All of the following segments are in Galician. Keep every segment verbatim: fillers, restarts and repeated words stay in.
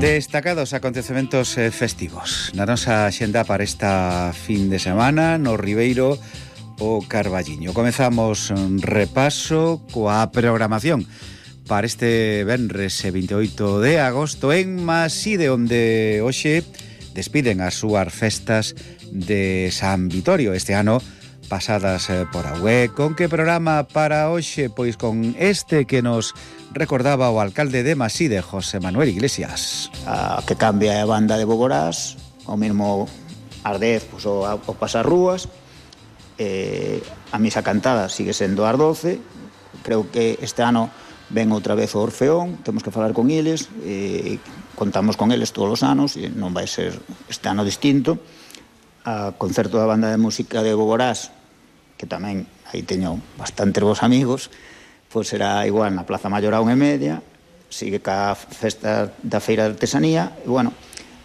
Destacados acontecementos eh, festivos na nosa axenda para esta fin de semana no Ribeiro o Carballiño. Comezamos un repaso coa programación para este venres veintioito de agosto en Maside, onde hoxe despiden as súas festas de San Vitorio este ano pasadas eh, por Agüé. Con que programa para hoxe? Pois con este que nos recordaba o alcalde de Maside, José Manuel Iglesias. A que cambia a banda de Bogorás, o mesmo ás dez, pois, o, o Pasarrúas, eh, a misa cantada sigue sendo ás doce. Creo que este ano ven outra vez o Orfeón, temos que falar con eles, eh, contamos con eles todos os anos, e non vai ser este ano distinto. A concerto da banda de música de Bogorás, que tamén aí teño bastantes vos amigos, pois será igual na Plaza Maior a unha e media, sigue ca festa da Feira de Artesanía, e bueno,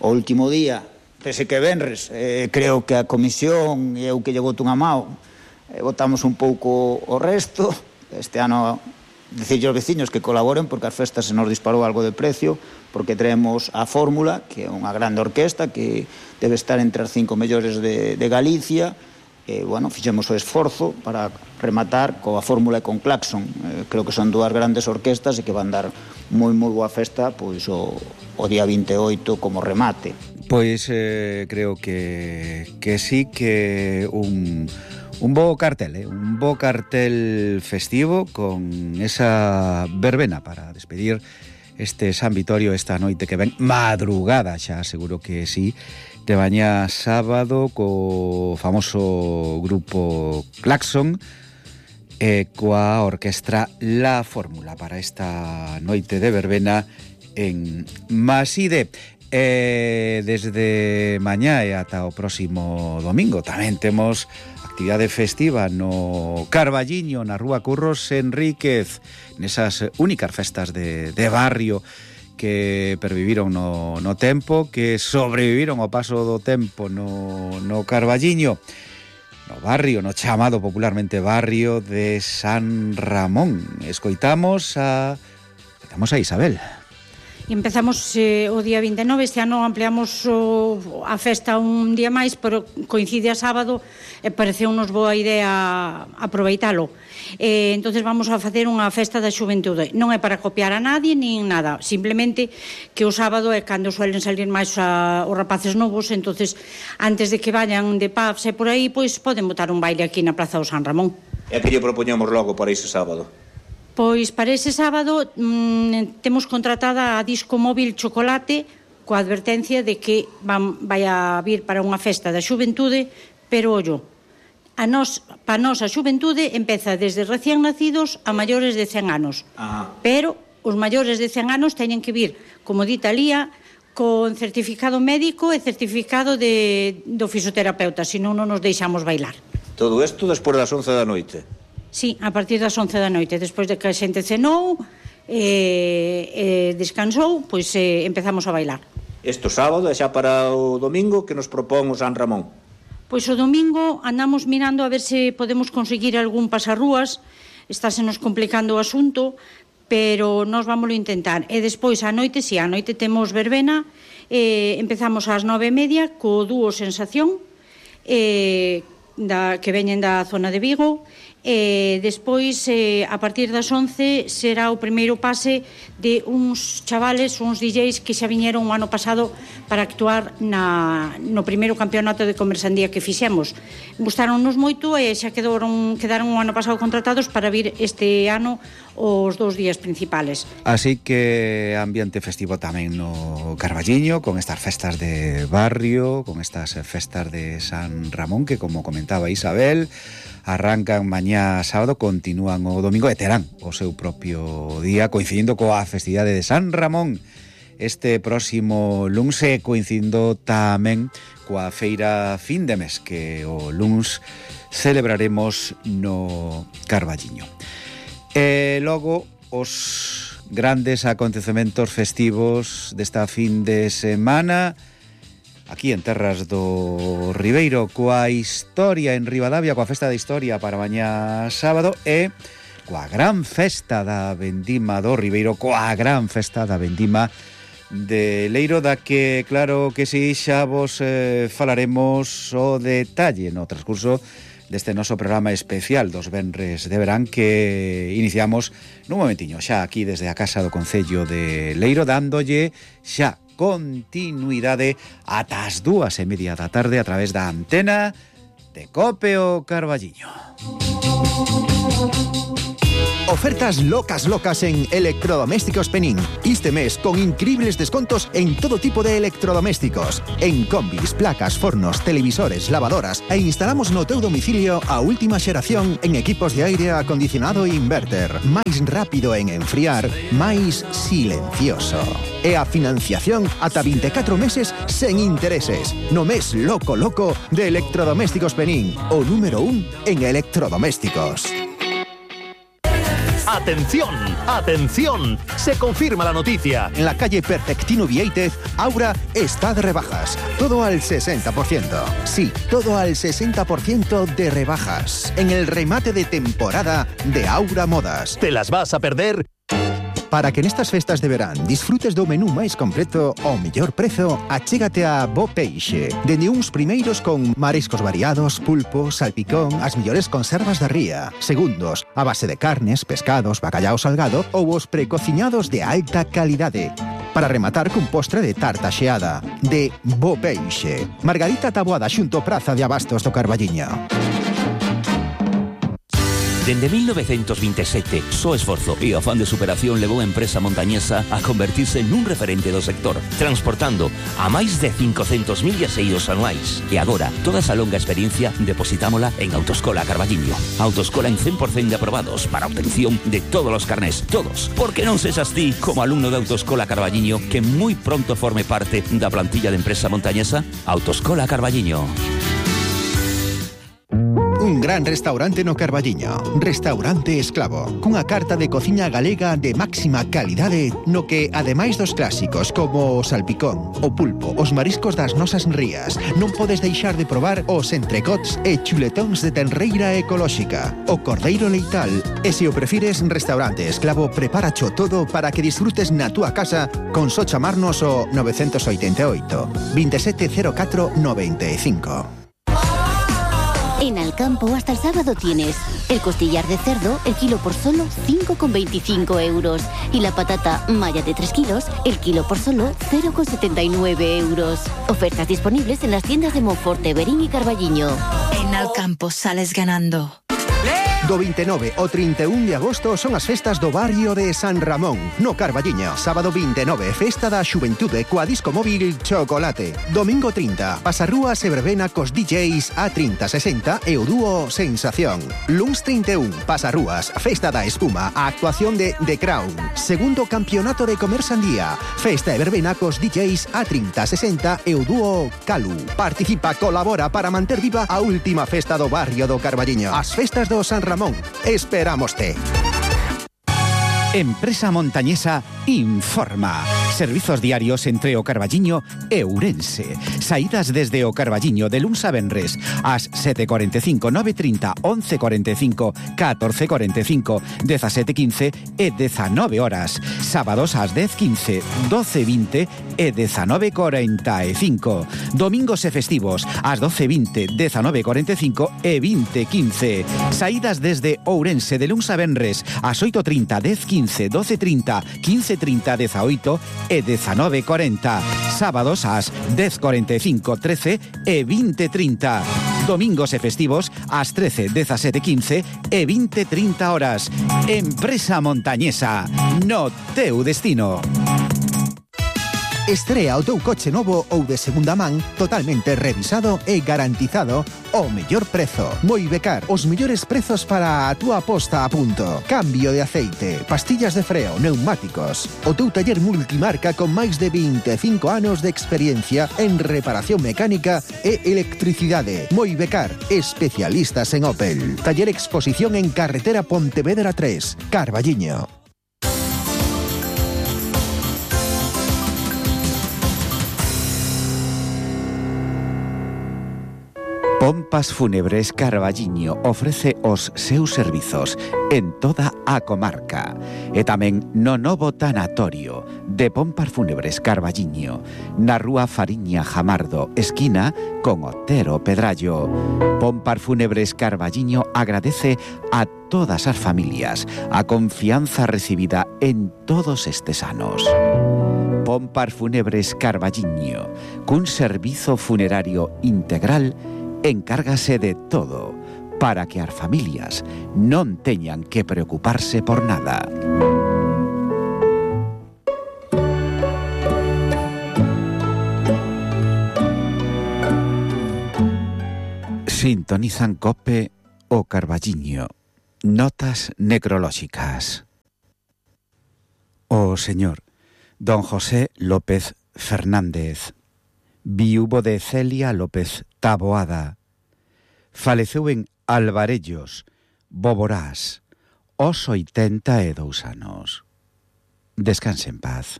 o último día, pese que venres, eh, creo que a comisión e eu que lle boto unha mao, eh, votamos un pouco o resto. Este ano, decirlle aos veciños que colaboren, porque as festas se nos disparou algo de precio, porque traemos a Fórmula, que é unha grande orquesta, que debe estar entre as cinco mellores de, de Galicia. E, bueno, fixemos o esforzo para rematar coa Fórmula e con Claxon. Eh, creo que son dúas grandes orquestas e que van dar moi, moi boa festa pois o, o día vinte e oito como remate. Pois eh, creo que, que sí que un, un bo cartel, eh? un bo cartel festivo con esa verbena para despedir este San Vitorio esta noite que ven madrugada, xa seguro que sí, de mañá sábado co famoso grupo Claxon e coa orquestra La Fórmula para esta noite de verbena en Maside. E desde mañá e ata o próximo domingo tamén temos actividade festiva no Carballiño, na Rúa Curros Enríquez, nesas únicas festas de, de barrio que perviviron no, no tempo, que sobreviviron ao paso do tempo no, no Carballiño, no barrio, no chamado popularmente barrio de San Ramón. Escoitamos a, escoitamos a Isabel. E empezamos eh, o día vinte e nove, este ano ampliamos o, a festa un día máis, pero coincide a sábado e pareceu-nos boa idea aproveitalo. Eh, entonces vamos a facer unha festa da xuventude. Non é para copiar a nadie nin nada, simplemente que o sábado é cando suelen salir máis a, os rapaces novos, entonces antes de que vayan de pubs e por aí, pois poden botar un baile aquí na Praza do San Ramón. E que lle propoñamos logo para ese sábado? Pois para ese sábado mmm, temos contratada a Disco Móvil Chocolate coa advertencia de que van, vai a vir para unha festa da xuventude, pero ollo, a nos, para nos a xuventude empeza desde recién nacidos a maiores de cen anos. Ajá. Pero os maiores de cen anos teñen que vir, como dita Lía, con certificado médico e certificado de, do fisioterapeuta, senón non nos deixamos bailar. Todo isto despois das once da noite? Sí, a partir das once da noite, despois de que a xente cenou e, e descansou, pois eh, empezamos a bailar. Este sábado e xa para o domingo que nos propón o San Ramón? Pois o domingo andamos mirando a ver se podemos conseguir algún pasarrúas, estásenos complicando o asunto, pero nós vámoslo intentar. E despois a noite, si, a noite temos verbena, eh, empezamos ás nove e media co dúo Sensación, eh, da, que veñen da zona de Vigo, e despois eh, a partir das once será o primeiro pase de uns chavales, uns D Js que xa viñeron o ano pasado para actuar na, no primeiro campeonato de conversandía que fixemos. Gustaronnos moito e xa quedaron, quedaron o ano pasado contratados para vir este ano os dous días principales. Así que ambiente festivo tamén no Carballiño, con estas festas de barrio, con estas festas de San Ramón que, como comentaba Isabel, arrancan mañá sábado, continúan o domingo e terán o seu propio día, coincidindo coa festividade de San Ramón este próximo luns e coincidindo tamén coa feira fin de mes que o luns celebraremos no Carballiño. E logo os grandes acontecementos festivos desta fin de semana aquí en terras do Ribeiro, coa historia en Ribadavia, coa festa de historia para mañá sábado e coa gran festa da vendima do Ribeiro, coa gran festa da vendima de Leiro, da que, claro que si, xa vos eh, falaremos o detalle no transcurso deste noso programa especial dos venres de verán que iniciamos nun momentiño xa aquí desde a Casa do Concello de Leiro, dándolle xa continuidade ata as dúas e media da tarde a través da antena de Cope o Carballiño. Ofertas locas locas en Electrodomésticos Penín. Este mes con increíbles descontos en todo tipo de electrodomésticos. En combis, placas, fornos, televisores, lavadoras e instalamos no teu domicilio a última xeración en equipos de aire acondicionado e inverter. Máis rápido en enfriar, máis silencioso. E a financiación ata vinte e catro meses sen intereses. No mes loco loco de Electrodomésticos Penín, o número un en electrodomésticos. ¡Atención! ¡Atención! Se confirma la noticia. En la calle Perfectino Vieitez, Aura está de rebajas. Todo al sesenta por ciento. Sí, todo al sesenta por ciento de rebajas. En el remate de temporada de Aura Modas. ¿Te las vas a perder? Para que nestas festas de verán disfrutes do menú máis completo ao mellor prezo, achégate a Bo Peixe. Dende uns primeiros con mariscos variados, pulpo, salpicón, as mellores conservas da ría. Segundos, a base de carnes, pescados, bacallao salgado ou os precociñados de alta calidade. Para rematar cun postre de tarta xeada, de Bo Peixe. Margarita Taboada xunto Praza de Abastos do Carballiño. Dende mil novecientos veintisiete, so esforzo e o afán de superación levou a empresa montañesa a convertirse nun referente do sector, transportando a máis de cincocentos mil viaxeiros anuais. E agora, toda esa longa experiencia depositámola en Autoescola Carballiño. Autoescola en cen por cento de aprobados para obtención de todos os carnés, todos. Porque non sexas ti, como alumno de Autoescola Carballiño, que moi pronto forme parte da plantilla de empresa montañesa? Autoescola Carballiño. Un gran restaurante no Carballiño, Restaurante Esclavo, cunha carta de cociña galega de máxima calidade no que, ademais dos clásicos como o salpicón, o pulpo, os mariscos das nosas rías, non podes deixar de probar os entrecots e chuletóns de tenreira ecolóxica, o cordeiro leital. E se o prefires, Restaurante Esclavo preparacho todo para que disfrutes na túa casa con só chamarnos o nove oito oito, veintisiete cero catro noventa e cinco. En Alcampo hasta el sábado tienes el costillar de cerdo, el kilo por solo cinco con veinticinco euros. Y la patata malla de tres kilos, el kilo por solo cero con setenta y nueve euros. Ofertas disponibles en las tiendas de Monforte, Verín y Carballiño. En Alcampo sales ganando. Do veintinueve ao trinta e un de agosto son as festas do barrio de San Ramón, no Carballiño. Sábado veintinueve, festa da xuventude coa disco móvil Chocolate. Domingo trinta, pasarrúas e verbena cos D Js A trinta sesenta e o dúo Sensación. Luns trinta e un, pasarrúas, festa da espuma, a actuación de The Crown. Segundo campeonato de comer sandía, festa e verbena cos D Js A trinta sesenta e o dúo Calu. Participa, colabora para manter viva a última festa do barrio do Carballiño. As festas do San Ramón. Esperámoste. Empresa Montañesa informa. Servizos diarios entre o Carballiño e Ourense. Saídas desde o Carballiño de luns a venres ás sete e cuarenta e cinco, nove e trinta, once e cuarenta e cinco, catorce e cuarenta e cinco, dezasete e quince e dezanove horas. Sábados ás dez e quince, doce e vinte e dezanove e cuarenta e cinco. Domingos e festivos ás doce e vinte, dezanove e cuarenta e cinco e vinte e quince. Saídas desde Ourense de luns a venres ás oito e trinta, dez e quince, doce e trinta, quince e trinta, dezaoito e dezanove e cuarenta. Sábados ás dez e cuarenta e cinco, trece e vinte e trinta. Domingos e festivos ás trece, dezasete e quince e vinte e trinta horas. Empresa Montañesa, no teu destino. Estrea o teu coche novo ou de segunda man totalmente revisado e garantizado ao mellor prezo. Moibecar, os mellores prezos para a túa posta a punto. Cambio de aceite, pastillas de freo, neumáticos. O teu taller multimarca con máis de vinte e cinco anos de experiencia en reparación mecánica e electricidade. Moibecar, especialistas en Opel. Taller Exposición en Carretera Pontevedra tres, Carballiño. Pompas Fúnebres Carballiño ofrece os seus servizos en toda a comarca e tamén no novo tanatorio de Pompar Fúnebres Carballiño, na rúa Fariña Jamardo, esquina con Otero Pedrallo. Pompar Fúnebres Carballiño agradece a todas as familias a confianza recibida en todos estes anos. Pompar Fúnebres Carballiño, cun servizo funerario integral, encárgase de todo para que as familias non teñan que preocuparse por nada. Sintonizan COPE o Carballiño. Notas necrolóxicas. O señor don José López Fernández, viúvo de Celia López Taboada, faleceu en Alvarellos, Boborás, aos oitenta e dous anos. Descanse en paz.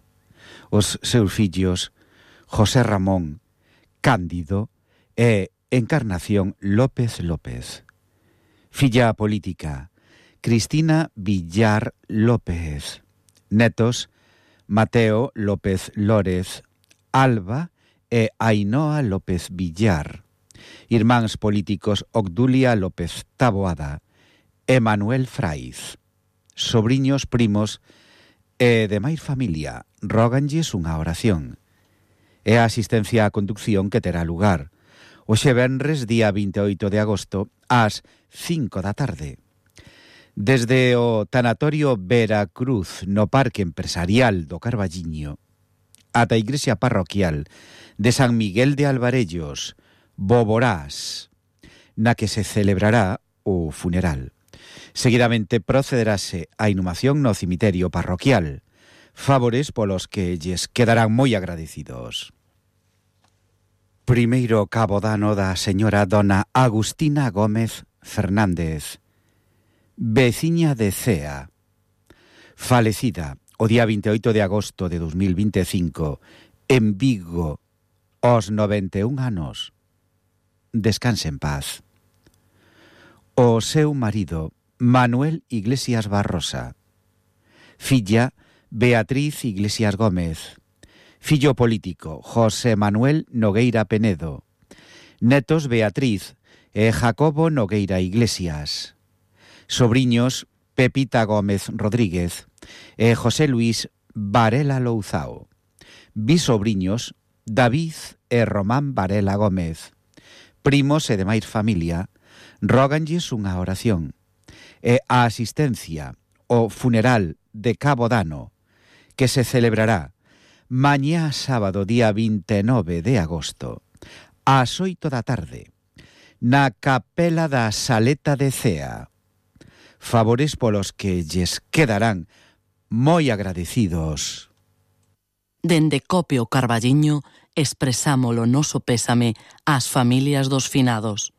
Os seus fillos, José Ramón, Cándido e Encarnación López López. Filla política, Cristina Villar López. Netos, Mateo López Lórez, Alba e Ainhoa López Villar. Irmáns políticos, Obdulia López Taboada e Manuel Fraiz. Sobriños, primos e demais familia, róganlles unha oración. E a asistencia á conducción que terá lugar hoxe venres, día vinte e oito de agosto, ás cinco da tarde. Desde o tanatorio Veracruz no Parque Empresarial do Carballiño ata a igrexa parroquial de San Miguel de Alvarellos, Boborás, na que se celebrará o funeral. Seguidamente procederase a inhumación no cemiterio parroquial, favores polos que lles quedarán moi agradecidos. Primeiro cabo dano da señora dona Agustina Gómez Fernández, veciña de Cea, falecida o día vinte e oito de agosto de dos mil vinte e cinco en Vigo, aos noventa e un anos. Descanse en paz. O seu marido, Manuel Iglesias Barrosa. Filla, Beatriz Iglesias Gómez. Fillo político, José Manuel Nogueira Penedo. Netos, Beatriz e Jacobo Nogueira Iglesias. Sobriños, Pepita Gómez Rodríguez e José Luis Varela Louzao. Bisobriños, David e Román Varela Gómez. Primos e demais familia, róganlles unha oración. E a asistencia ao funeral de Cabo Dano, que se celebrará mañá sábado, día vinte e nove de agosto, ás oito da tarde, na capela da Saleta de Cea. Favores polos que lles quedarán moi agradecidos. Dende COPE o Carballiño expresámolo noso pésame ás familias dos finados.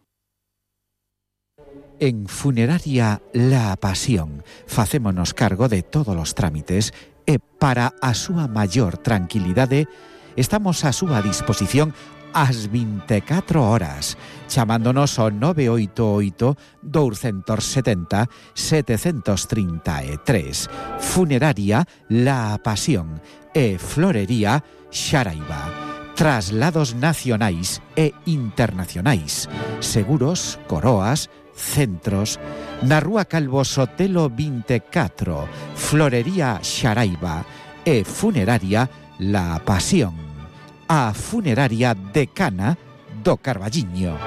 En Funeraria La Pasión facémonos cargo de todos os trámites e para a súa maior tranquilidade estamos a súa disposición ás vinte e catro horas, chamándonos ao nove oito oito, dous sete zero, sete tres tres. Funeraria La Pasión e Florería Xaraiba. Traslados nacionais e internacionais, seguros, coroas, centros, na rúa Calvo Sotelo vinte e catro, Florería Xaraiba e Funeraria La Pasión, a funeraria decana do Carballiño.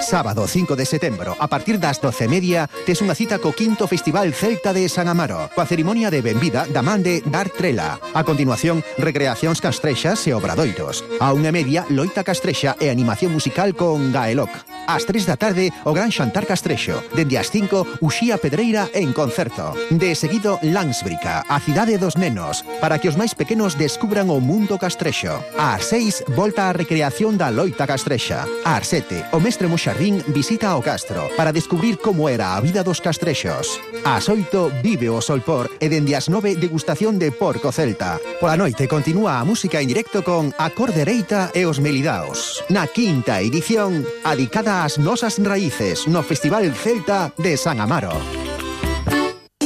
Sábado cinco de setembro, a partir das doce e media, tes unha cita co quinto Festival Celta de San Amaro, coa cerimonia de benvida da man de Dar Trela. A continuación, recreacións castrexas e obradoiros. A unha e media, loita castrexa e animación musical con Gaeloc. Ás tres da tarde, o Gran Xantar Castrexo. Dende as cinco, Uxía Pedreira en concerto. De seguido, Landsbrica, a cidade dos nenos, para que os máis pequenos descubran o mundo castrexo. Ás seis, volta a recreación da loita castrexa. Ás sete, o mestre Moxarrín visita o castro para descubrir como era a vida dos castrexos. Ás oito, vive o solpor e dende as nove, degustación de porco celta. Pola noite continúa a música en directo con A Cor Dereita e os Melidaos. Na quinta edición, adicada ás nosas raíces no Festival Celta de San Amaro.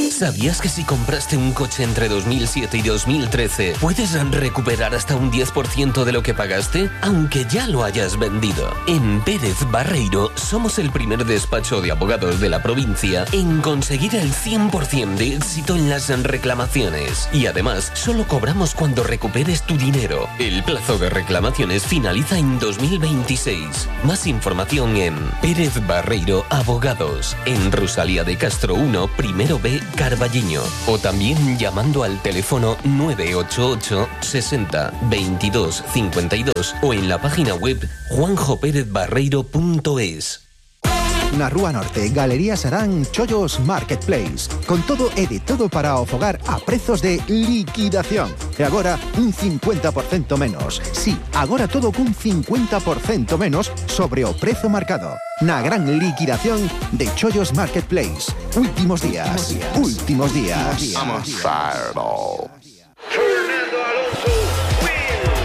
¿Sabías que si compraste un coche entre dos mil siete y dos mil trece puedes recuperar hasta un diez por ciento de lo que pagaste, aunque ya lo hayas vendido? En Pérez Barreiro somos el primer despacho de abogados de la provincia en conseguir el cien por ciento de éxito en las reclamaciones. Y además, solo cobramos cuando recuperes tu dinero. El plazo de reclamaciones finaliza en dos mil veintiséis. Más información en Pérez Barreiro Abogados, en Rosalía de Castro uno, primero B, Carballiño, o también llamando al teléfono nueve ocho ocho sesenta veintidós cincuenta y dos o en la página web juanjo pérez barreiro punto es. Na Rúa Norte, Galería Sarán Chollos Marketplace. Con todo e de todo para o fogar a prezos de liquidación. E agora, un cincuenta por ciento menos. Sí, agora todo cun cincuenta por ciento menos sobre o prezo marcado. Na gran liquidación de Chollos Marketplace. Últimos días. Últimos días. Vamos a Fireball.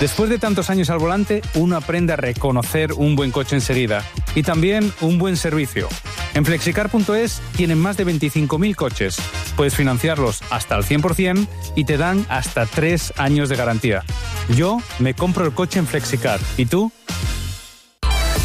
Después de tantos años al volante, uno aprende a reconocer un buen coche enseguida y también un buen servicio. En flexicar punto es tienen más de veinticinco mil coches. Puedes financiarlos hasta el cien por ciento y te dan hasta tres años de garantía. Yo me compro el coche en Flexicar. ¿Y tú?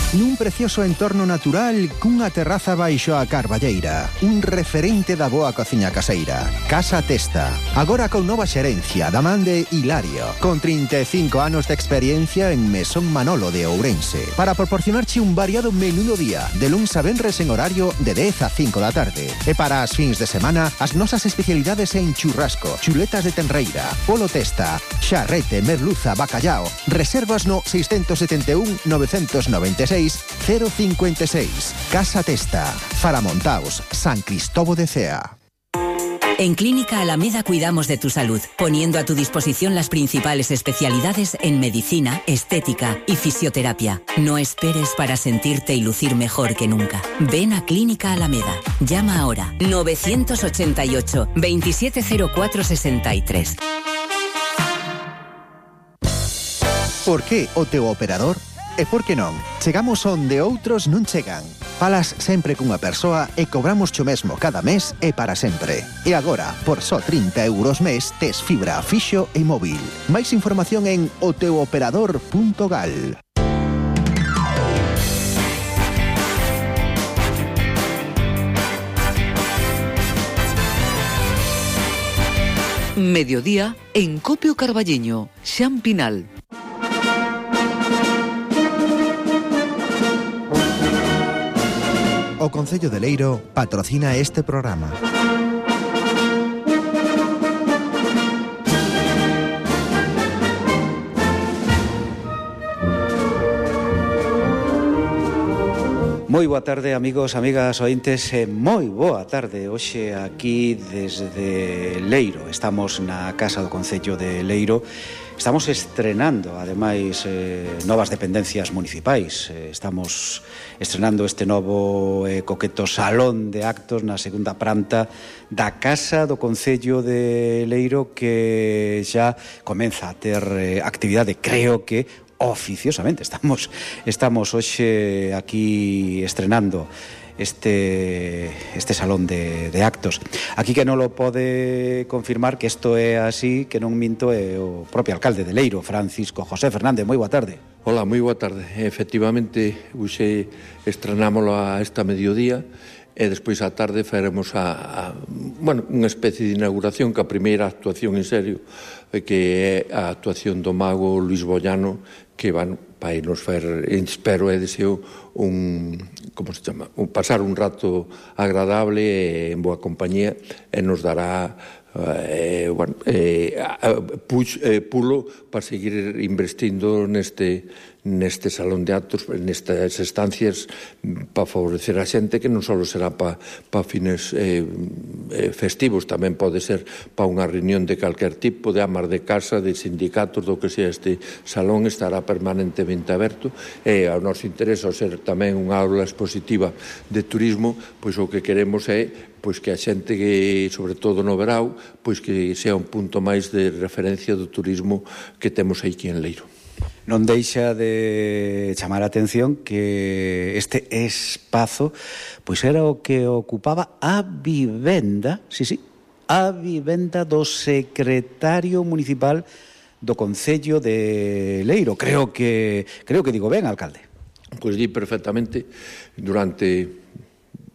Nun precioso entorno natural cunha terraza baixo a carballeira. Un referente da boa cociña caseira. Casa Testa. Agora con nova xerencia da man de Hilario. Con trinta e cinco anos de experiencia en Mesón Manolo de Ourense. Para proporcionarche un variado menú do día. De luns a venres en horario de dez a cinco da tarde. E para as fins de semana, as nosas especialidades en churrasco, chuletas de tenreira, polo testa, xarrete, merluza, bacallao. Reservas no seis sete un nove nove seis cero cinco seis. Casa Testa, Faramontaos, San Cristóbal de Cea. En Clínica Alameda cuidamos de tu salud, poniendo a tu disposición las principales especialidades en medicina, estética y fisioterapia. No esperes para sentirte y lucir mejor que nunca. Ven a Clínica Alameda. Llama ahora nueve ocho ocho, veintisiete cero cuatro sesenta y tres. Por que o teu operador? E por que non? Chegamos onde outros non chegan. Falas sempre cunha persoa e cobramos cho mesmo cada mes e para sempre. E agora, por só trinta euros mes, tes fibra fixo e móvil. Máis información en o teu operador punto gal. Mediodía en Copio Carballiño, Xan Pinal. O Concello de Leiro patrocina este programa. Moi boa tarde, amigos, amigas, ointes, e moi boa tarde hoxe aquí desde Leiro. Estamos na Casa do Concello de Leiro. Estamos estrenando, ademais, eh, novas dependencias municipais. Eh, estamos estrenando este novo eh, coqueto salón de actos na segunda planta da Casa do Concello de Leiro, que xa comeza a ter eh, actividade, creo que oficiosamente. Estamos, estamos hoxe aquí estrenando este este salón de, de actos. Aquí que non lo pode confirmar que isto é así, que non minto, é o propio alcalde de Leiro, Francisco José Fernández. Moi boa tarde. Hola, moi boa tarde. Efectivamente, hoxe estrenámoslo a esta mediodía e despois á tarde faremos a, a bueno, unha especie de inauguración, que a primeira actuación en serio, que é a actuación do mago Luis Bollano, que van vai nos fer, espero e deseo un, como se chama, un, pasar un rato agradable e en boa compañía, e nos dará eh, bueno, eh, puch, eh, pulo para seguir investindo neste neste salón de actos, nestas estancias, para favorecer a xente, que non só será para pa fines eh, festivos, tamén pode ser para unha reunión de calquer tipo, de amas de casa, de sindicatos, do que sea. Este salón estará permanentemente aberto, e ao noso interés, ao ser tamén unha aula expositiva de turismo, pois o que queremos é pois que a xente, que, sobre todo no verao, pois que sea un punto máis de referencia do turismo que temos aquí en Leiro. Non deixa de chamar a atención que este espazo pois era o que ocupaba a vivenda, sí, sí, a vivenda do secretario municipal do Concello de Leiro. Creo que creo que digo ben, alcalde. Pois di perfectamente. Durante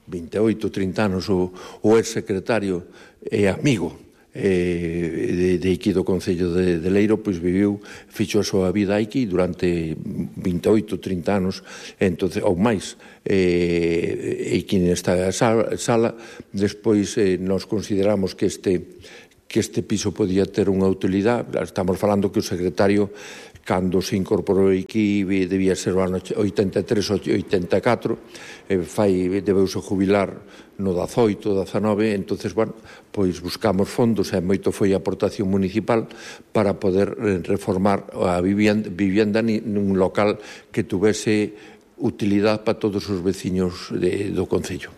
veintioito, trinta anos o, o ex-secretario e amigo eh, de, de aquí do Concello de, de Leiro, pois viviu, fixo a súa vida aquí durante veintioito, trinta anos, entonces, ou máis, eh, e aquí nesta sala, sala despois eh, nos consideramos que este que este piso podía ter unha utilidade. Estamos falando que o secretario, cando se incorporou aquí, debía ser o ano oitenta e tres, oitenta e catro, eh, fai, debeuse jubilar no dezaoito, dezanove, entonces, bueno, pois buscamos fondos, e moito foi a aportación municipal para poder reformar a vivienda, vivienda nun local que tuvese utilidade para todos os veciños de, do Concello.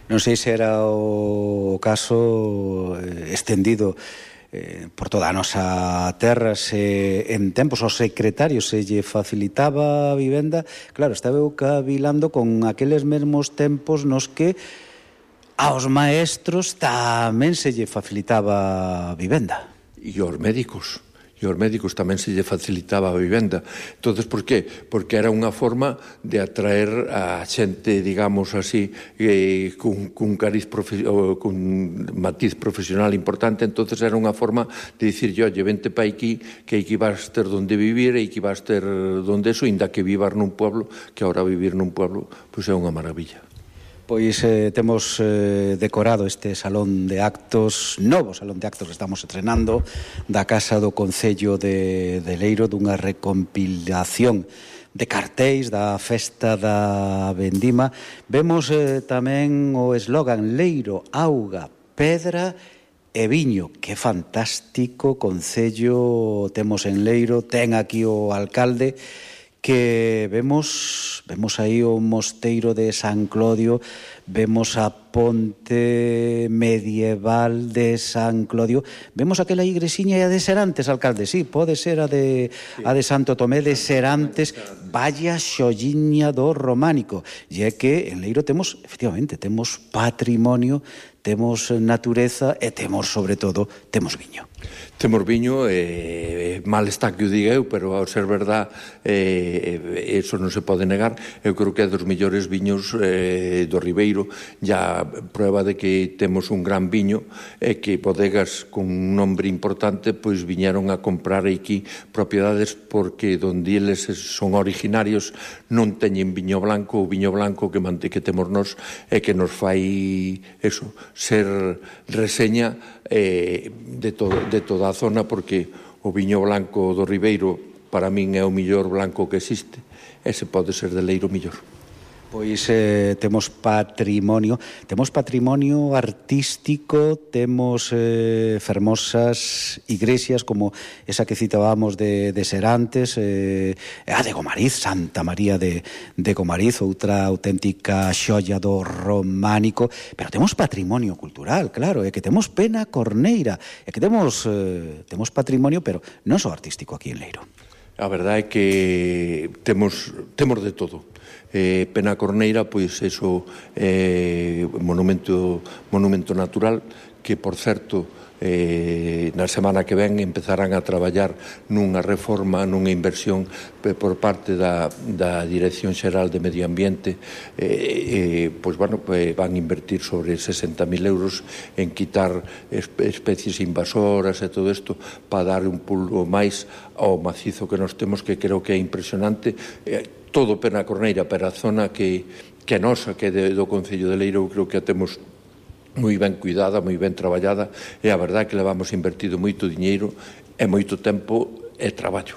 Non sei se era o caso eh, estendido eh, por toda a nosa terra, se en tempos ao secretario se lle facilitaba a vivenda. Claro, estaba eu cavilando con aqueles mesmos tempos nos que aos maestros tamén se lle facilitaba a vivenda. E aos médicos. E aos médicos tamén se lle facilitaba a vivenda. Entonces, por qué? Porque era unha forma de atraer a xente, digamos así, eh, cun, cun cariz profe, o, cun matiz profesional importante. Entonces era unha forma de dicir, oye, vente pa aquí, que aquí vas ter donde vivir, e aquí vas ter donde eso, inda que vivas nun pueblo, que ahora vivir nun pueblo, pois é unha maravilla. Pois eh, temos eh, decorado este salón de actos, novo salón de actos que estamos estrenando, da Casa do Concello de, de Leiro, dunha recompilación de cartéis da Festa da Vendima. Vemos eh, tamén o eslogan Leiro, auga, pedra e viño. Que fantástico concello temos en Leiro. Ten aquí o alcalde, que vemos vemos aí o mosteiro de San Clodio, vemos a ponte medieval de San Clodio, vemos aquela igresiña de Serantes, alcalde, sí, pode ser a de a de Santo Tomé de Serantes, vaya xolliña do románico. E é que en Leiro temos, efectivamente, temos patrimonio, temos natureza e temos, sobre todo, temos viño. Temos viño, eh, mal está que o diga eu, pero ao ser verdad, eh, eso non se pode negar. Eu creo que é dos mellores viños eh, do Ribeiro. Ya prueba de que temos un gran viño, e que bodegas con un nombre importante pois viñeron a comprar aquí propiedades, porque donde eles son originarios non teñen viño blanco. O viño blanco que mante que temos nós é que nos fai eso, ser reseña eh, de, todo, de toda a zona, porque o viño blanco do Ribeiro para min é o millor blanco que existe, e se pode ser de Leiro millor. Pois eh, temos patrimonio, temos patrimonio artístico, temos eh, fermosas igrexas como esa que citábamos de, de Serantes, eh, a de Gomariz, Santa María de, de Gomariz, outra auténtica xoia do románico, pero temos patrimonio cultural, claro, é que temos Pena Corneira, é que temos, eh, temos patrimonio, pero non só artístico aquí en Leiro. A verdade é que temos, temos de todo. Eh, Pena Corneira, pois, eso, eh, monumento, monumento natural, que, por certo, eh, na semana que ven empezarán a traballar nunha reforma, nunha inversión por parte da, da Dirección Xeral de Medio Ambiente. Eh, eh, pois, bueno, eh, van invertir sobre sesenta mil euros en quitar especies invasoras e todo isto, para dar un pulo máis ao macizo que nos temos, que creo que é impresionante. Eh, todo Pena Corneira, pero a zona que, que é nosa, que é de, do Concello de Leiro, eu creo que a temos moi ben cuidada, moi ben traballada, e a verdade é que levamos invertido moito diñeiro e moito tempo e traballo.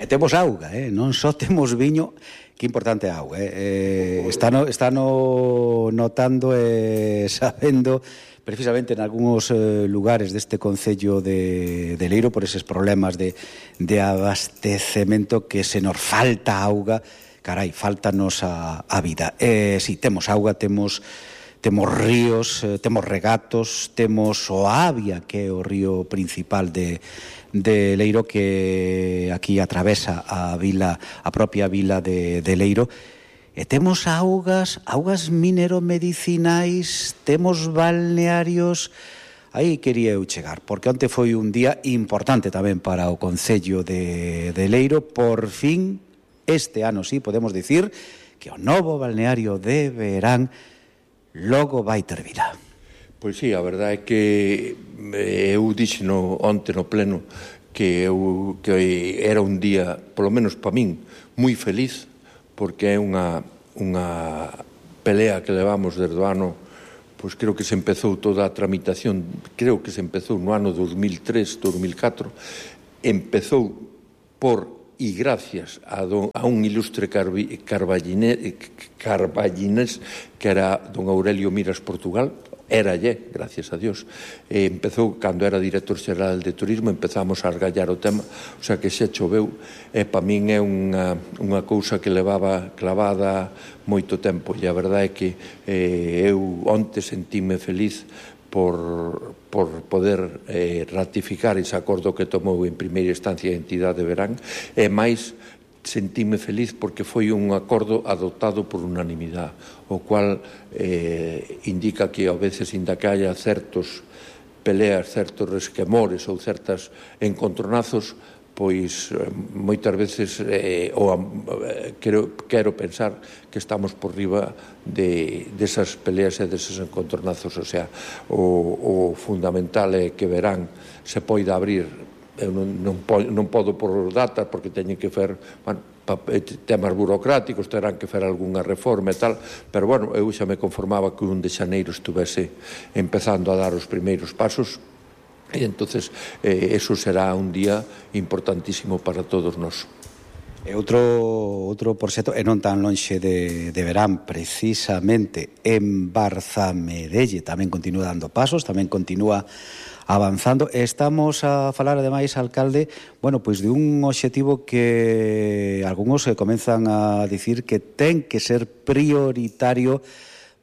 E temos auga, eh? Non só temos viño, que importante é a auga. Eh? Está, no, está no, notando e eh, sabendo precisamente en algúns eh, lugares deste concello de, de Leiro por eses problemas de, de abastecemento que se nos falta auga, carai, faltanos a, a vida. Eh, si, temos auga, temos... Temos ríos, eh, temos regatos, temos o Avia, que é o río principal de, de Leiro, que aquí atravesa a vila, a propia vila de, de Leiro. E temos augas, augas mineromedicinais, temos balnearios. Aí quería eu chegar, porque onte foi un día importante tamén para o concello de, de Leiro. Por fin, este ano sí, podemos dicir que o novo balneario de Verán logo vai ter vida. Pois sí, a verdade é que eu dixo no, onte no pleno que, eu, que era un día, polo menos para min, moi feliz, porque é unha, unha pelea que levamos desde o ano, pois creo que se empezou toda a tramitación, creo que se empezou no ano dos mil tres, dos mil catro, empezou por e gracias a, don, a un ilustre carballinés que era don Aurelio Miras Portugal, era lle, gracias a Dios, e empezou, cando era director xeral de turismo, empezamos a argallar o tema, o sea que xa choveu, e para min é unha, unha cousa que levaba clavada moito tempo, e a verdade é que eh, eu onte sentíme feliz por, por poder eh, ratificar ese acordo que tomou en primeira instancia a entidade de Verán, e máis sentíme feliz porque foi un acordo adoptado por unanimidade, o cual eh, indica que a veces inda que haya certos peleas, certos resquemores ou certas encontronazos, pois moitas veces eh, ou, eh, quero, quero pensar que estamos por riba de, desas peleas e deses encontronazos, o sea, o, o fundamental é que Verán se poida abrir. Eu non, non, non podo por datas porque teñen que fer, bueno, temas burocráticos, terán que fer algunha reforma e tal, pero bueno, eu xa me conformaba que un de xaneiro estuvese empezando a dar os primeiros pasos. E entonces eh, eso será un día importantísimo para todos nós. E outro, outro por xeto, e non tan lonxe de, de Verán, precisamente en Barzamedelle tamén continúa dando pasos, tamén continúa avanzando. Estamos a falar, ademais, alcalde, bueno, pois de un obxectivo que algúns comenzan a dicir que ten que ser prioritario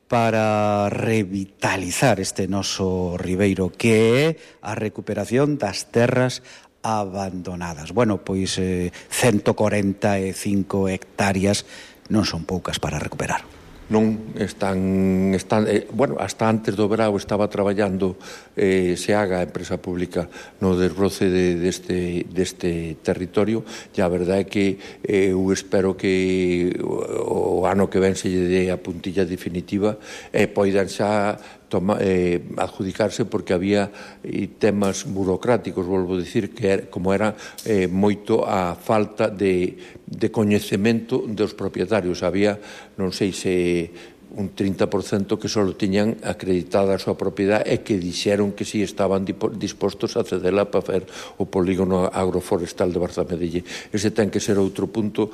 para revitalizar este noso ribeiro, que é a recuperación das terras abandonadas. Bueno, pois eh, ciento corenta e cinco hectáreas non son poucas para recuperar. Non están, están eh, bueno, hasta antes do verao estaba traballando eh, SEAGA, a empresa pública, no desbroce de, deste, deste territorio, e a verdade é que eh, eu espero que o, o ano que ven se lle dé a puntilla definitiva e poidan xa toma, eh, adjudicarse, porque había eh, temas burocráticos, volvo a dicir, que era, como era eh, moito a falta de, de coñecemento dos propietarios. Había, non sei se un trinta por cento que só tiñan acreditada a súa propiedade e que dixeron que si estaban dispostos a cedela para fer o polígono agroforestal de Barzamedelle. Ese ten que ser outro punto,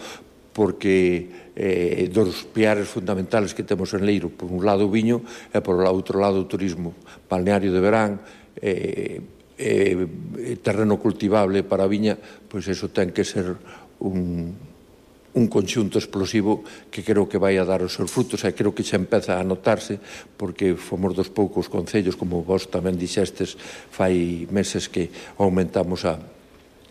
porque eh, dos piares fundamentales que temos en Leiro, por un lado o viño e por outro lado o turismo, balneario de Verán, eh, eh, terreno cultivable para a viña, pois eso ten que ser un, un conxunto explosivo que creo que vai a dar os seus frutos, e creo que xa empeza a notarse, porque fomos dos poucos concellos, como vos tamén dixestes, fai meses que aumentamos a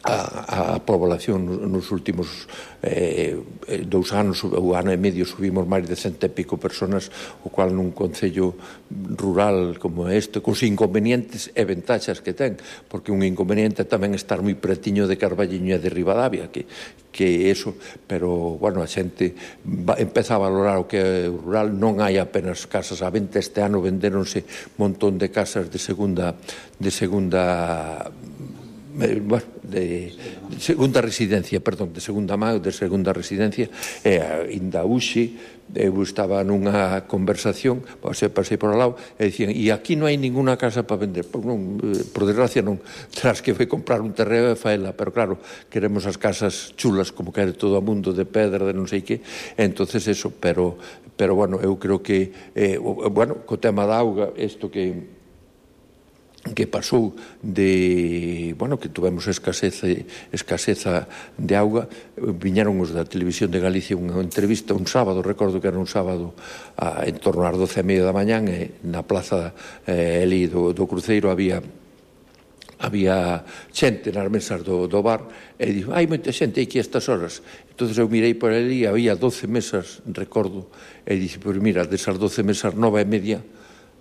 a, a población nos últimos eh, dous anos, ou ano e medio, subimos máis de cento e pico personas, o cual nun concello rural como este, cos inconvenientes e ventaxas que ten, porque un inconveniente tamén estar moi pretiño de Carballiño e de Ribadavia, que, que eso, pero, bueno, a xente va, empeza a valorar o que é rural. Non hai apenas casas á venta, este ano vendéronse un montón de casas de segunda de segunda bueno, de, de segunda residencia, perdón, de segunda má, de segunda residencia, e ainda hoxe eu estaba nunha conversación, pasei, pasei por ao lado, e dicían, e aquí non hai ninguna casa para vender. Pois non, por desgracia non, tras que foi comprar un terreo e faela, pero claro, queremos as casas chulas, como quere todo o mundo, de pedra, de non sei que, entonces eso, pero, pero bueno, eu creo que, eh, bueno, co tema da auga, isto que que pasou de, bueno, que tuvemos escaseza, escaseza de auga, viñeron os da Televisión de Galicia unha entrevista un sábado, recordo que era un sábado a, en torno ás doce e media da mañán, e na plaza eh, ali do, do Cruceiro había había xente nas mesas do, do bar, e dixo, hai moita xente aquí a estas horas. Entón eu mirei por ali, había doce mesas, recordo, e dixo, pois mira, desas doce mesas, nove e media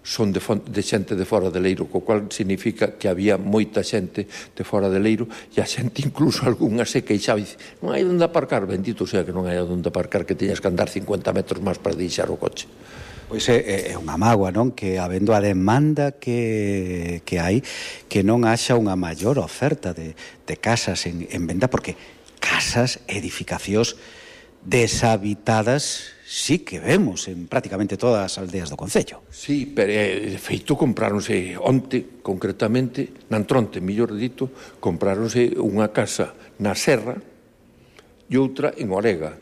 son de, de xente de fora de Leiro, co cual significa que había moita xente de fora de Leiro, e a xente incluso algunha se queixaba e dice, non hai onde aparcar, bendito sea que non hai onde aparcar, que teñas que andar cincuenta metros máis para deixar o coche. Pois é, é unha mágoa, non? Que habendo a demanda que, que hai, que non haxa unha maior oferta de, de casas en, en venda, porque casas, edificacións deshabitadas sí que vemos en prácticamente todas as aldeas do concello. Sí, pero de feito compráronse onte, concretamente, Nantronte, mellor dito, compráronse unha casa na Serra e outra en Orega.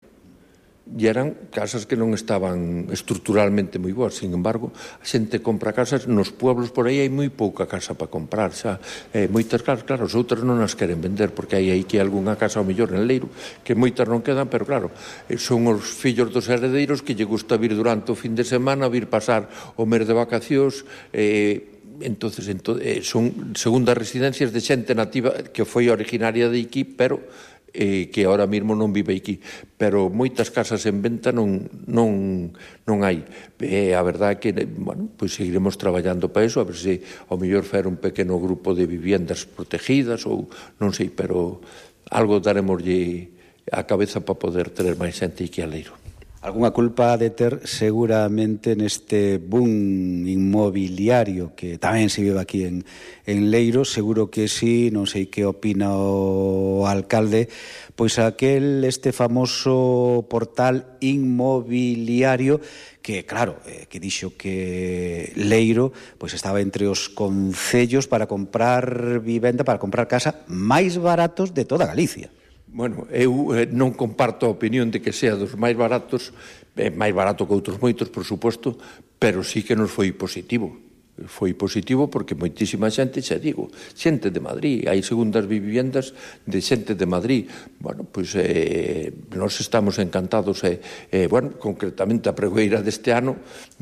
E eran casas que non estaban estruturalmente moi boas. Sin embargo, a xente compra casas nos pueblos, por aí hai moi pouca casa para comprar xa. Eh, moitas casas, claro, as outras non as queren vender, porque hai aí que algunha casa ao mellor en Leiro, que moitas non quedan, pero claro, son os fillos dos heredeiros que lle gusta vir durante o fin de semana, vir pasar o mes de vacacións, eh, entonces ento, eh, son segundas residencias de xente nativa que foi originaria de aquí, pero eh, que ahora mesmo non vive aquí, pero moitas casas en venta non, non, non hai. Eh, a verdade é que, bueno, pois seguiremos traballando para eso, a ver se ao mellor fer un pequeno grupo de viviendas protegidas ou non sei, pero algo daremoslle a cabeza para poder ter máis xente aquí a Leiro. Algúnha culpa de ter seguramente neste boom inmobiliario que tamén se vive aquí en, en Leiro, seguro que sí, non sei que opina o alcalde, pois aquel, este famoso portal inmobiliario que, claro, eh, que dixo que Leiro pois estaba entre os concellos para comprar vivenda, para comprar casa máis baratos de toda Galicia. Bueno, eu eh, non comparto a opinión de que sea dos máis baratos, eh, máis barato que outros moitos, por suposto, pero sí que nos foi positivo. Foi positivo porque moitísima xente, xa digo, xente de Madrid, hai segundas viviendas de xente de Madrid. Bueno, pois eh, nós estamos encantados, e, eh, bueno, concretamente a pregoeira deste ano,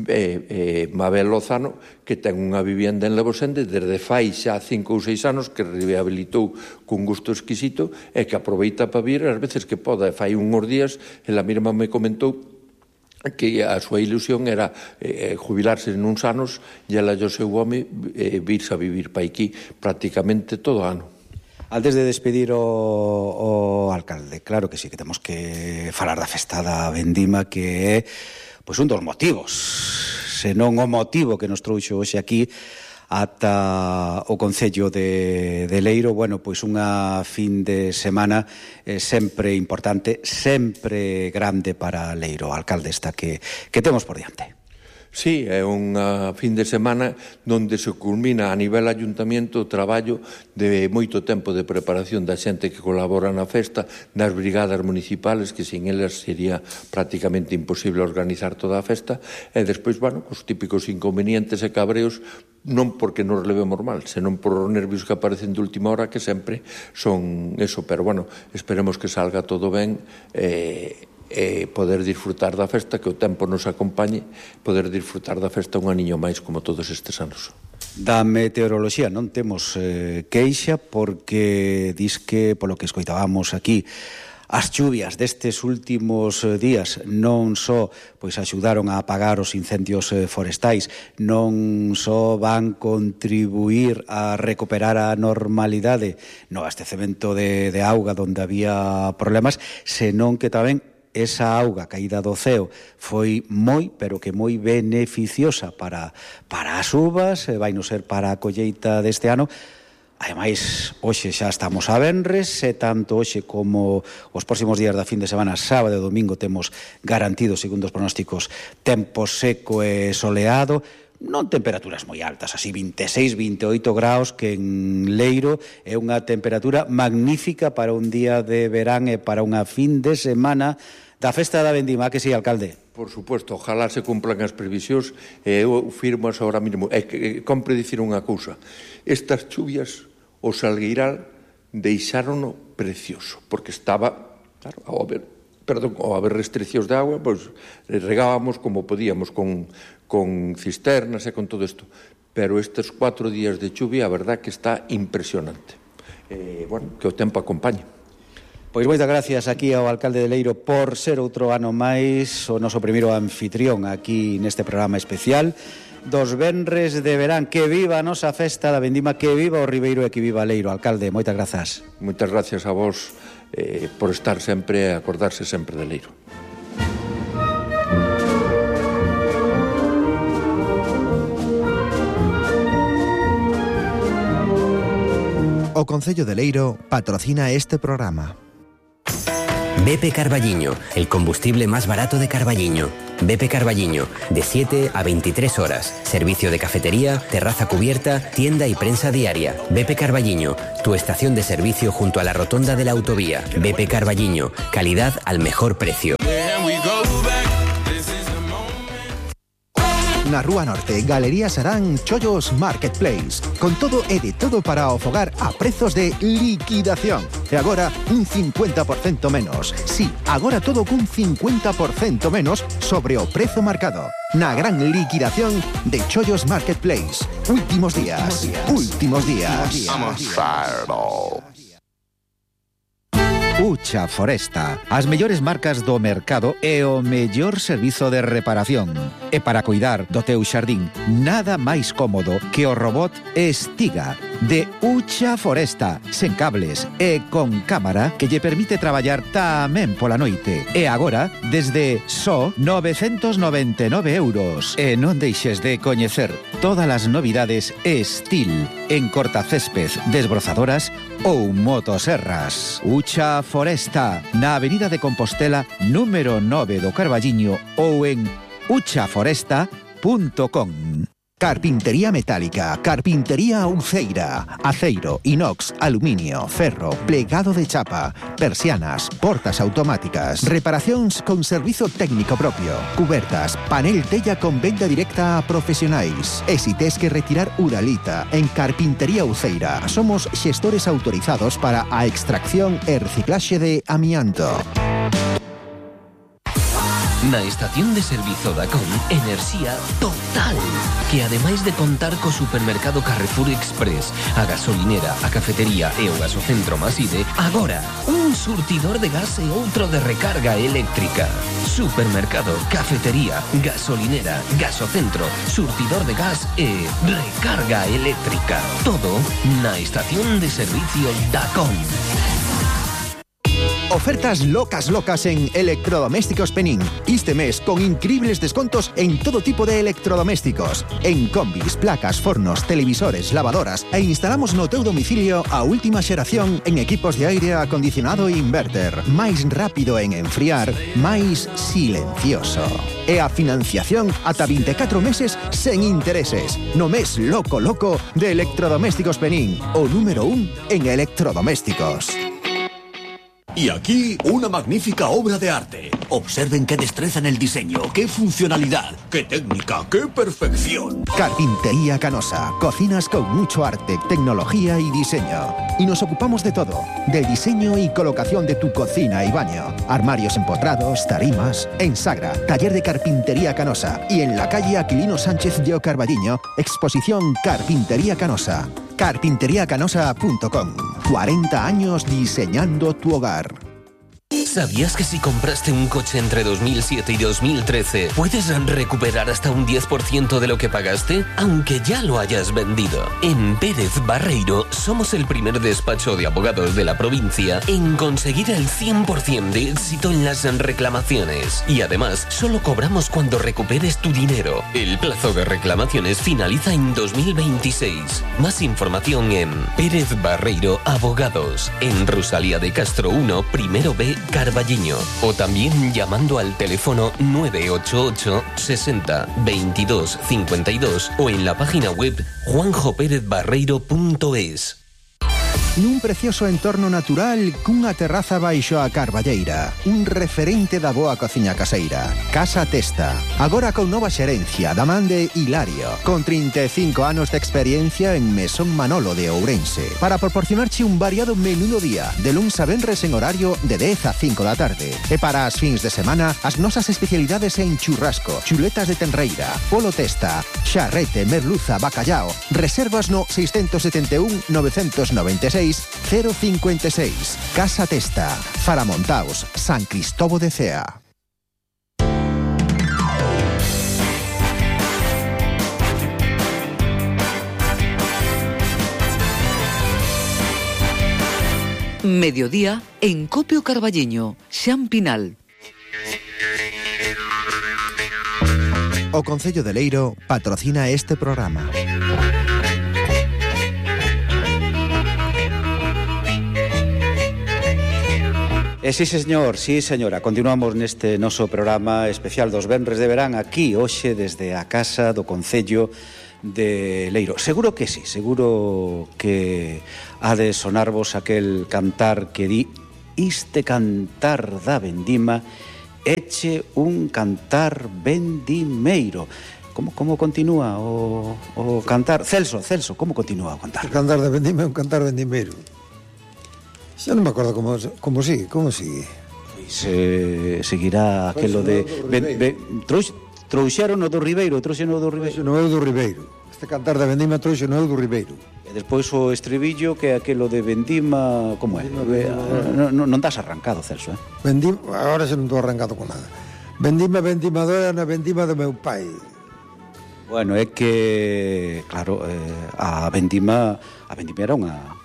eh, eh, Mabel Lozano, que ten unha vivienda en Levosende desde fai xa cinco ou seis anos, que rehabilitou con gusto exquisito e que aproveita para vir as veces que poda. Fai uns días, ela mesma me comentou que a súa ilusión era eh, jubilarse en uns anos e ela e o seu home eh, virse a vivir para aquí prácticamente todo o ano. Antes de despedir o, o alcalde, claro que sí, que temos que falar da festa da Vendima, que é pois, un dos motivos, senón o motivo que nos trouxo hoxe aquí ata o Concello de, de Leiro. Bueno, pois unha fin de semana eh, sempre importante, sempre grande para Leiro. Alcalde, esta que, que temos por diante. Sí, é unha fin de semana onde se culmina a nivel ayuntamiento o traballo de moito tempo de preparación da xente que colabora na festa, das brigadas municipales, que sin elas sería prácticamente imposible organizar toda a festa, e despois, bueno, os típicos inconvenientes e cabreos, non porque nos levemos mal, senón por os nervios que aparecen de última hora, que sempre son eso, pero bueno, esperemos que salga todo ben, e e poder disfrutar da festa, que o tempo nos acompañe, poder disfrutar da festa un aniño máis como todos estes anos. Da meteoroloxía non temos eh, queixa, porque dis que, polo que escoitábamos aquí, as chuvias destes últimos días non só pois axudaron a apagar os incendios forestais, non só van contribuir a recuperar a normalidade no abastecemento de, de auga onde había problemas, senón que tamén esa auga caída do ceo foi moi, pero que moi beneficiosa para, para as uvas, vai non ser para a colleita deste ano. Ademais, hoxe xa estamos a venres, e tanto hoxe como os próximos días da fin de semana, sábado e domingo, temos garantido, segundo os pronósticos, tempo seco e soleado, non temperaturas moi altas, así vinte e seis, vinte e oito graus, que en Leiro é unha temperatura magnífica para un día de verán e para unha fin de semana da festa da vendima, que sí, alcalde? Por suposto, ojalá se cumplan as previsións, e eu firmo as ahora mesmo. É que compre dicir unha cousa, estas chuvias o Salgueiral deixárono precioso, porque estaba, claro, ao haber, perdón, ao haber restriccións de agua, pois regábamos como podíamos, con, con cisternas e con todo isto. Pero estes cuatro días de chuvia, a verdad que está impresionante. Eh, bueno, que o tempo acompañe. Pois moitas gracias aquí ao alcalde de Leiro por ser outro ano máis o noso primeiro anfitrión aquí neste programa especial dos venres de verán. Que viva a nosa festa da vendima, que viva o Ribeiro e que viva Leiro. Alcalde, moitas grazas. Moitas gracias a vos eh, por estar sempre e acordarse sempre de Leiro. O Concello de Leiro patrocina este programa. B P Carballiño, el combustible más barato de Carballiño. B P Carballiño, de siete a veintitrés horas. Servicio de cafetería, terraza cubierta, tienda y prensa diaria. B P Carballiño, tu estación de servicio junto a la rotonda de la autovía. B P Carballiño, calidad al mejor precio. Na Rúa Norte, Galería Sarán, Chollos Marketplace. Con todo e de todo para o fogar a prezos de liquidación. E agora, un cincuenta por cento menos. Sí, agora todo cun cincuenta por cento menos sobre o prezo marcado. Na gran liquidación de Chollos Marketplace. Últimos días. Últimos días. Ucha Foresta, as mellores marcas do mercado e o mellor servizo de reparación. E para cuidar do teu xardín, nada máis cómodo que o robot Estiga de Ucha Foresta, sen cables e con cámara que lle permite traballar tamén pola noite. E agora, desde só novecentos noventa e nove euros. E non deixes de coñecer todas as novidades Estil en cortacésped, desbrozadoras ou motoserras. Ucha Foresta, na Avenida de Compostela, número nove do Carballiño, ou en ucha foresta punto com. Carpintería metálica, carpintería Uceira, aceiro, inox, aluminio, ferro, plegado de chapa, persianas, portas automáticas, reparacións con servizo técnico propio, cubertas, panel tella con venda directa a profesionais. E si tes que retirar uralita, en Carpintería Uceira somos xestores autorizados para a extracción e reciclaxe de amianto. Na estación de servizo Dacom, enerxía total, que ademais de contar co supermercado Carrefour Express, a gasolinera, a cafetería e o gasocentro Maside, agora un surtidor de gas e outro de recarga eléctrica. Supermercado, cafetería, gasolinera, gasocentro, surtidor de gas e recarga eléctrica. Todo na estación de servicio Dacom. Ofertas locas locas en Electrodomésticos Penín. Este mes con increíbles descontos en todo tipo de electrodomésticos. En combis, placas, fornos, televisores, lavadoras e instalamos no teu domicilio a última xeración en equipos de aire acondicionado e inverter. Máis rápido en enfriar, máis silencioso. E a financiación ata vinte e catro meses sen intereses. No mes loco loco de Electrodomésticos Penín, o número un en electrodomésticos. Y aquí, una magnífica obra de arte. Observen qué destreza en el diseño, qué funcionalidad, qué técnica, qué perfección. Carpintería Canosa. Cocinas con mucho arte, tecnología y diseño. Y nos ocupamos de todo. Del diseño y colocación de tu cocina y baño. Armarios empotrados, tarimas. En Sagra, taller de Carpintería Canosa. Y en la calle Aquilino Sánchez de Carballiño, exposición Carpintería Canosa. carpintería canosa punto com. cuarenta años diseñando tu hogar. ¿Sabías que si compraste un coche entre dos mil siete y dos mil trece puedes recuperar hasta un diez por ciento de lo que pagaste, aunque ya lo hayas vendido? En Pérez Barreiro somos el primer despacho de abogados de la provincia en conseguir el cien por ciento de éxito en las reclamaciones. Y además, solo cobramos cuando recuperes tu dinero. El plazo de reclamaciones finaliza en dos mil veintiséis. Más información en Pérez Barreiro Abogados, en Rosalía de Castro uno, primero B, Carballiño. O también llamando al teléfono nueve ocho ocho sesenta veintidós cincuenta y dos o en la página web juanjo pérez barreiro punto es. Nun precioso entorno natural cunha terraza baixo a Carballeira, un referente da boa cociña caseira. Casa Testa, agora con nova xerencia da man de Hilario, con trinta e cinco anos de experiencia en Mesón Manolo de Ourense, para proporcionarche un variado menú do día, de luns a venres en horario de dez a cinco da tarde. E para as fins de semana, as nosas especialidades en churrasco, chuletas de tenreira, polo testa, xarrete, merluza, bacallao. Reservas no seis sete un nove nove seis cero cinco seis. Casa Testa, Faramontaos, San Cristóbal de Cea. Mediodía en Copio Carballiño, Xan Pinal. O Concello de Leiro patrocina este programa. E sí, señor, sí, señora, continuamos neste noso programa especial dos venres de verán aquí, hoxe, desde a casa do Concello de Leiro. Seguro que sí, seguro que ha de sonarvos aquel cantar que di: iste cantar da vendima eche un cantar vendimeiro. Como, como continúa o, o cantar? Celso, Celso, como continúa o cantar? O cantar da vendima é un cantar vendimeiro. Xa non me acordo como, como sigue, como sigue. Pois eh, seguirá aquelo de... Ben, ben, trous, trouxeron o do Ribeiro, trouxeron o do Ribeiro. Non é o do Ribeiro. Este cantar da vendima trouxe non é o do Ribeiro. E despois o estribillo, que é aquelo de vendima... Como é? Vendima, non, non estás arrancado, Celso, eh? Vendima, agora xa non estou arrancado con nada. Vendima vendimadora na vendima do meu pai. Bueno, é que, claro, eh, a vendima... A vendima era unha...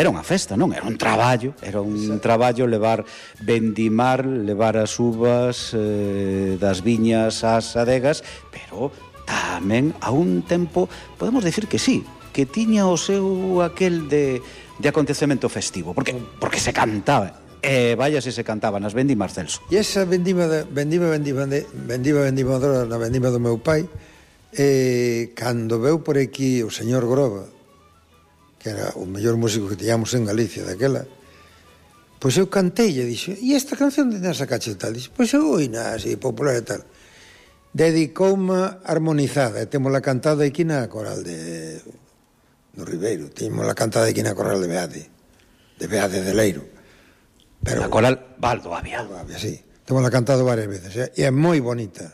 Era unha festa, non? Era un traballo, era un sí. traballo levar, vendimar, levar as uvas eh, das viñas ás adegas, pero tamén a un tempo, podemos decir que sí, que tiña o seu aquel de, de acontecemento festivo, porque, porque se cantaba, e eh, vaya se se cantaba nas vendimas, Celso. E esa vendima, de, vendima, vendima, de, vendima, vendimadora na vendima do meu pai, eh, cando veu por aquí o señor Groba, que era o mellor músico que tiñamos en Galicia daquela, pois eu cantei e dixo: e esta canción de Nasa Cache tal? Dixo: pois eu oína así, popular e tal. Dedicoume armonizada, e témola cantada aquí na coral de do Ribeiro, témola cantada aquí na coral de Beade, de Beade de Leiro. Pero, na coral Baldo Avia. Baldo Avia, sí. Témola cantado varias veces, e é moi bonita,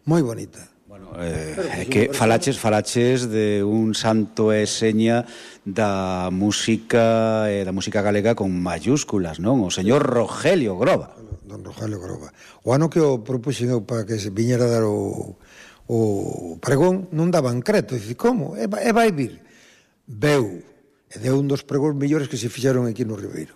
moi bonita. Bueno, eh, é que falaches, falaches de un santo e seña da música eh, da música galega con mayúsculas, non? O señor Rogelio Groba. Don Rogelio Groba. O ano que o propuxen eu para que se viñera a dar o, o pregón, non daban creto. Dice, como? E vai, e vai vir. Veu. E deu un dos pregóns mellores que se fixeron aquí no Ribeiro.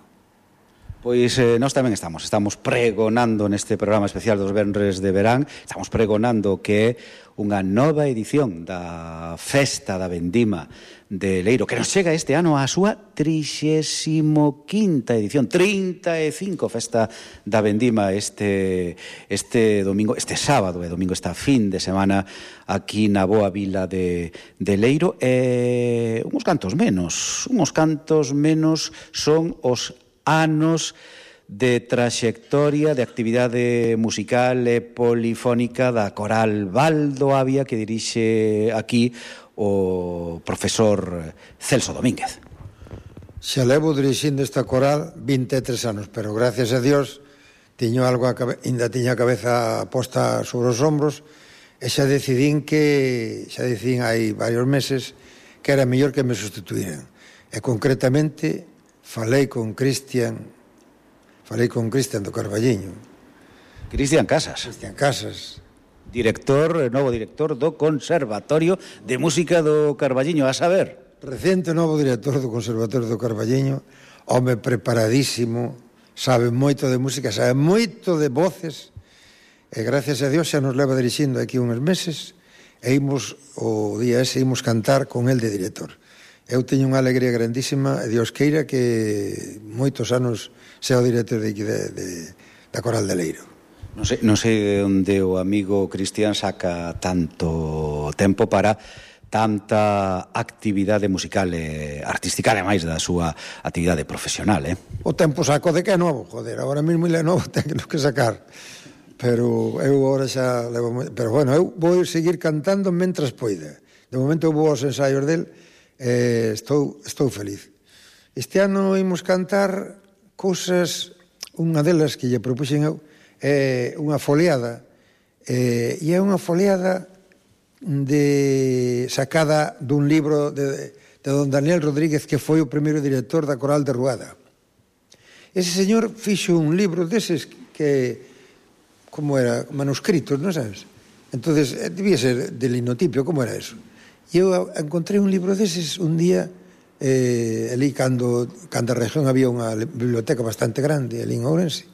Pois eh, nós tamén estamos, estamos pregonando neste programa especial dos venres de verán, estamos pregonando que é unha nova edición da Festa da Vendima de Leiro, que nos chega este ano á súa trixésimo quinta edición, trinta e cinco Festa da Vendima este, este domingo, este sábado e domingo, esta fin de semana aquí na boa vila de, de Leiro, e uns cantos menos, uns cantos menos son os anos de traxectoria de actividade musical e polifónica da coral Baldo Avia, que dirixe aquí o profesor Celso Domínguez. Xa levo dirixindo esta coral vinte e tres anos, pero gracias a Dios tiño algo a cabe... ainda tiña a cabeza posta sobre os ombros, e xa decidín que xa decidín hai varios meses que era mellor que me sustituíran, e concretamente falei con Cristian falei con Cristian do Carballiño. Cristian Casas. Cristian Casas. Director, novo director do Conservatorio de Música do Carballiño, a saber. Recente novo director do Conservatorio do Carballiño, home preparadísimo, sabe moito de música, sabe moito de voces, e gracias a Dios xa nos leva dirixindo aquí uns meses, e imos, o día ese, imos cantar con el de director. Eu teño unha alegría grandísima, e Dios queira que moitos anos sea o director de, de, de, da Coral de Leiro. Non sei, non sei onde o amigo Cristian saca tanto tempo para tanta actividade musical e artística, ademais da súa actividade profesional, eh? O tempo saco de que é novo, joder, agora mesmo ele é novo, ten que sacar. Pero eu agora xa levo... Pero bueno, eu vou seguir cantando mentras poida. De momento eu vou aos ensaios del e estou, estou feliz. Este ano imos cantar cousas, unha delas que lle propuxen eu, é unha foliada, e é unha foliada de sacada dun libro de, de don Daniel Rodríguez, que foi o primeiro director da Coral de Ruada. Ese señor fixo un libro deses que, como era, manuscritos, non sabes? Entonces, debía ser de linotipio, como era eso? E eu encontrei un libro deses un día, eh, ali cando, cando a región había unha biblioteca bastante grande, ali en Ourense,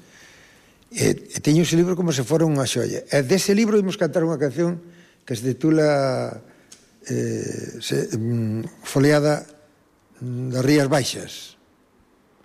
e, e teño ese libro como se fora unha xoia. E dese libro imos cantar unha canción que se titula eh, se, mm, Foliada das Rías Baixas.